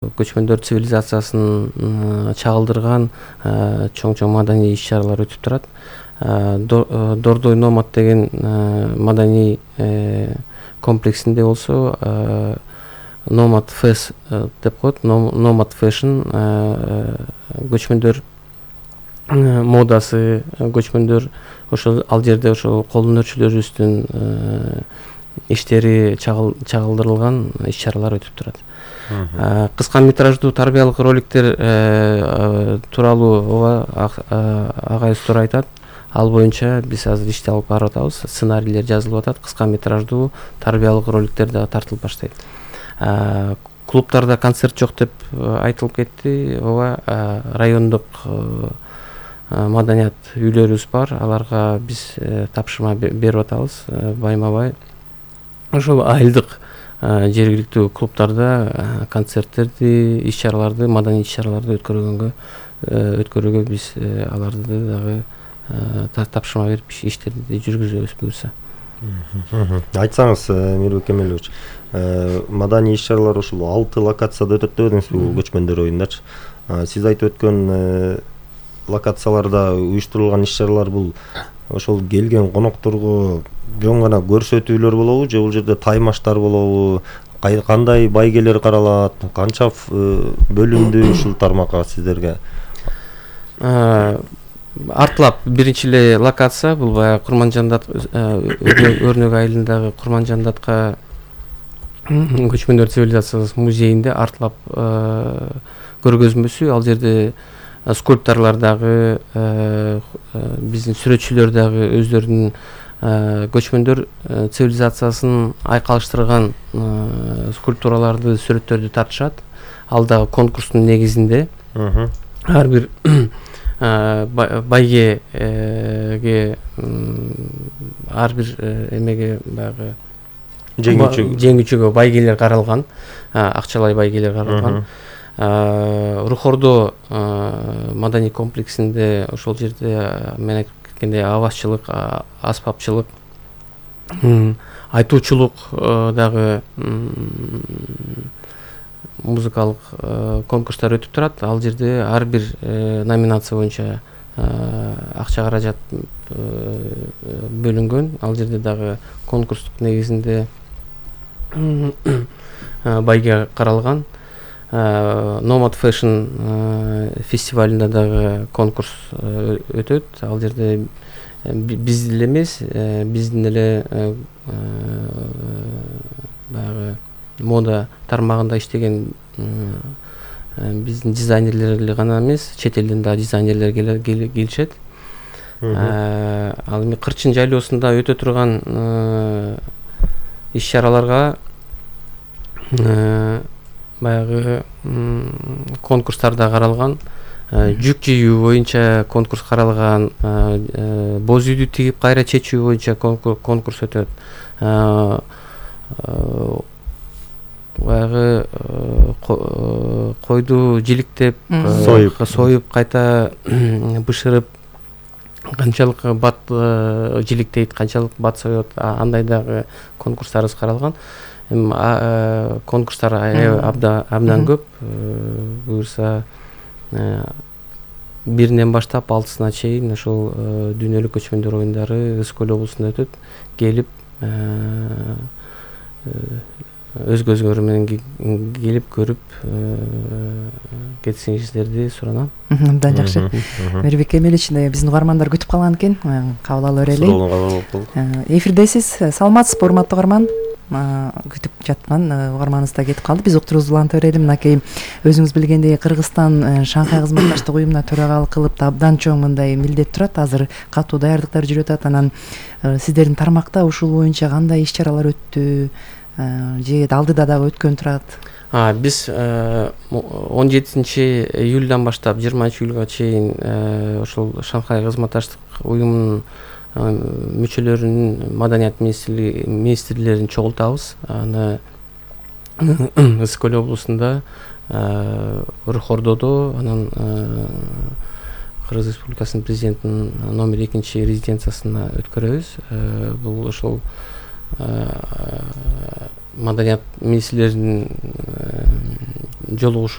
көчмөндөр цивилизациясын чагылдырган чоң маданий иш-чаралар өтүп турат. Дордой Номад деген маданий комплексинде болсо Nomad Fest деп коет. Nomad Fashion көчмөндөр модасы, көчмөндөр ошол ал жерде ошол кол өнөрчүлөрүбүздүн иштери чагылдырылган иш-чаралар өтүп турат. Кыска метраждуу тарбиялык роликтер тууралуу ооба агайыбыздар айтат. Ал боюнча биз азыр ишти алып барып атабыз. Сценарийлер жазылып атат. Кыска метраждуу тарбиялык роликтер дагы тартылып баштайт. Клубтарда концерт жок деп айтылып кетти. Ооба, райондук маданият үйлөрүбүз бар. Аларга биз тапшырма берип атабыз байма-бай. Ошол айылдык жергиликтүү клубтарда концерттерди, иш-чараларды, маданий иш-чараларды өткөрүүгө биз аларды дагы тапшырма берип иштерди жүргүзөбүз буюрса. Айтсаңыз, Мирбек Кемелович, маданий иш-чаралар ушул 6 локацияда өтөт дедиңизби, көчмөндөр оюндачы. Сиз айтып өткөн локацияларда уюштурулган иш-чаралар бул ошол келген конокторго жөн гана көрсөтүүлөр болобу, же бул жерде таймаштар болобу, кандай байгелер каралат, канча бөлүндү ушул тармакка сиздерге? Артлап биринчи эле локация бул баягы Курманжандат Өрнөк айылындагы Курманжандатка көчмөндөр цивилизациясы музейинде артлап көргөзмөсү. Ал жерде скульпторлор дагы, биздин сүрөтчүлөр дагы өздөрүнүн көчмөндөр цивилизациясын айкалыштырган скульптураларды, сүрөттөрдү тартышат. Ал дагы конкурстун негизинде ар бир байгеге, ар бир эмеге баягы жеңүүчүгө байгелер каралган, акчалай байгелер каралган. Рухордо маданий комплексинде ошол жерде мен айтып кеткендей авазчылык, аспапчылык, айтуучулук дагы музыкалык конкурстар өтүп турат. Ал жерде ар бир номинация боюнча акча каражат бөлүнгөн. Ал жерде дагы конкурстук негизинде байге каралган. Nomad Fashion фестивалында дагы конкурс өтөт. Ал жерде биз эле эмес, биздин эле баягы мода тармагында иштеген биздин дизайнерлер гана эмес, чет элден да дизайнерлер келишет. Ал эми Кырчын жайлоосунда өтө турган иш-чараларга баягы конкурстарда каралган, жүк жийүү боюнча конкурс каралган, боз үйдү тигип кайра чечүү боюнча конкурс өтөт. Баягы койду жиликтеп, союп кайта бышырып, канчалык бат жиликтейт, канчалык бат соет, андай дагы конкурстарыбыз каралган. Конкурстар абдан көп. Буюрса биринен баштап 6-сына чейин ошол дүйнөлүк көчмөндөр оюндары Ысык Көл облусунда өтөт. Келип өз көзүңөр менен келип көрүп кетсеңиздерди суранам. Абдан жакшы. Мирбек Кемелович, биздин угармандар күтүп калган экен. Кабыл ала берели. Эфирдесиз. Саламатсызбы, урматтуу угарман? Күтүп жаткан угарманыбыз да кетип калды. Биз уктуруубузду уланта берели. Мынакей өзүңүз билгендей Кыргызстан Шанхай кызматташтык уюмуна төрагалык кылып абдан чоң мындай милдет турат. Азыр катуу даярдыктар жүрүп атат. Анан сиздердин тармакта ушул боюнча кандай иш-чаралар өттү? Же алдыда дагы өткөн турат? Биз 17 июлдан баштап 20 июлга чейин ошол Шанхай кызматташтык уюмунун мүчөлөрүнүн маданият министрлерин чогултабыз. Аны Ысык Көл облусунда, Рухордодо, анан Кыргыз Республикасынын президентинин номер 2 резиденциясына өткөрөбүз. Бул ошол маданият министрлеринин жолугушуу